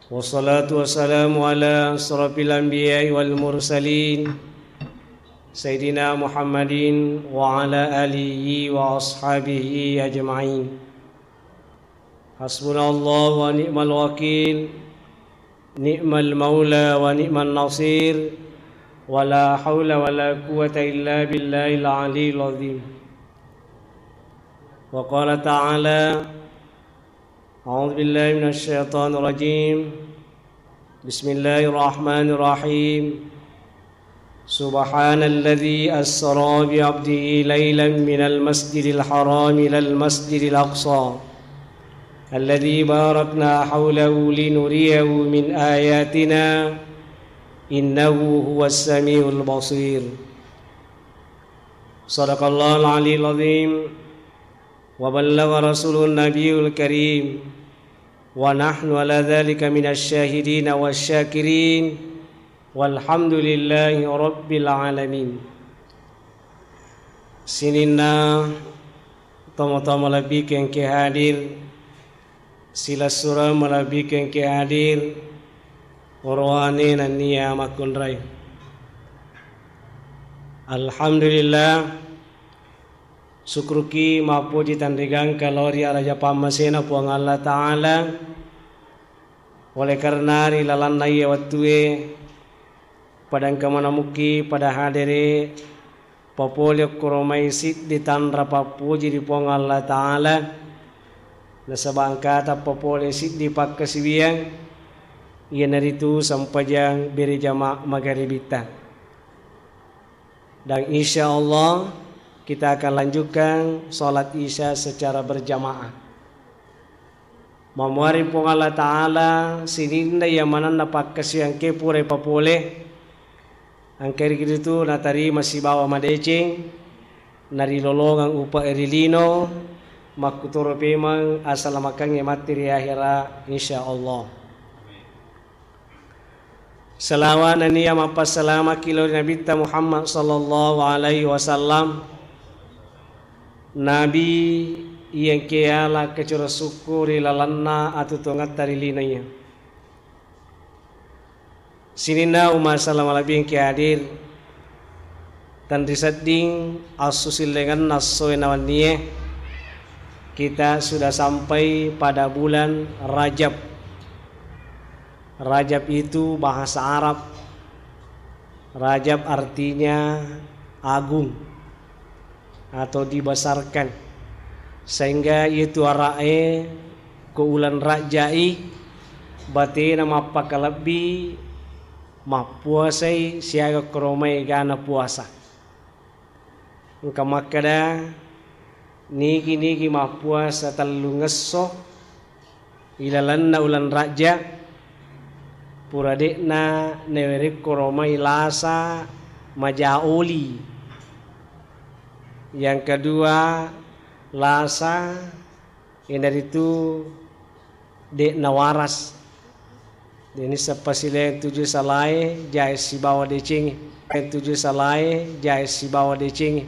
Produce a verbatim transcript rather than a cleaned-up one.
والصلاة والسلام على أشرف الأنبياء والمرسلين سيدنا محمد وعلى آله وأصحابه أجمعين. حسبنا الله ونعم الوكيل، نعم المولى ونعم النصير، ولا حول ولا قوة إلا بالله العلي العظيم. وقال تعالى: أعوذ بالله من الشيطان الرجيم. بسم الله الرحمن الرحيم. سبحان الذي أسرى بعبده ليلا من المسجد الحرام إلى المسجد الأقصى الذي باركنا حوله لنريه من آياتنا إنه هو السميع البصير. صدق الله العلي العظيم. وبلغ رسوله النبي الكريم، ونحن على ذلك من الشاهدين والشاكرين، والحمد لله رب العالمين. Sininna tomatoa malebbiku engkae hadir, silessureng malebbiku engkae hadir, orowane nennia makkunrai. Alhamdulillah, Sukkuruki mappoji tanrigangka lao ri araja pammasena Puang Allah Ta'ala. Oleh karena ri lalanna iye wettue, pada engka manamukki pada hadere, papole okkoro mai siddi tanra pappoji ri Puang Allah Ta'ala, nasaba engkata papole siddi pakkasiwiang, iyanaritu sempajang berejama magaribitta. Dan insya Allah kita akan lanjutkan sholat Isya secara berjamaah. Mamuari Puang Allah Ta'ala sininna iya manenna pakkasiwiang engkae pura ipapole, engka ritu natarima sibawa madeceng, narilolongeng upa ri lino, makkutoro pemeng asalamakengnge matti ri ahera, insya Allah. Salawa nennia mappassalamaki lao ri Nabitta Muhammad sallallahu alaihi wasallam, Nabi iya engkae yala kacura sukku ri lalenna atuo-tuongetta ri lino iya. Sininna umma salama lebbi engkae hadir, tenrisedding assusillengenna essoe nawennie, kita sudah sampai pada bulan Rajab. Rajab itu bahasa Arab. Rajab artinya agung atau dibesarkan. Sehingga itu ara'e ko uleng Rajai batena mappakalebbi mappuasai siaga koromai egana puasa. Engka makkeda, nigi-nigi mappuasa tellungesso ilalenna uleng Rajja, pura de'na nawerekko romai lasa maja oli. Yang kedua, lasa iyanaritu de'na waras. Deni seppa sileng tuju salae jae sibawa decengnge. Tuju salae jae sibawa decengnge.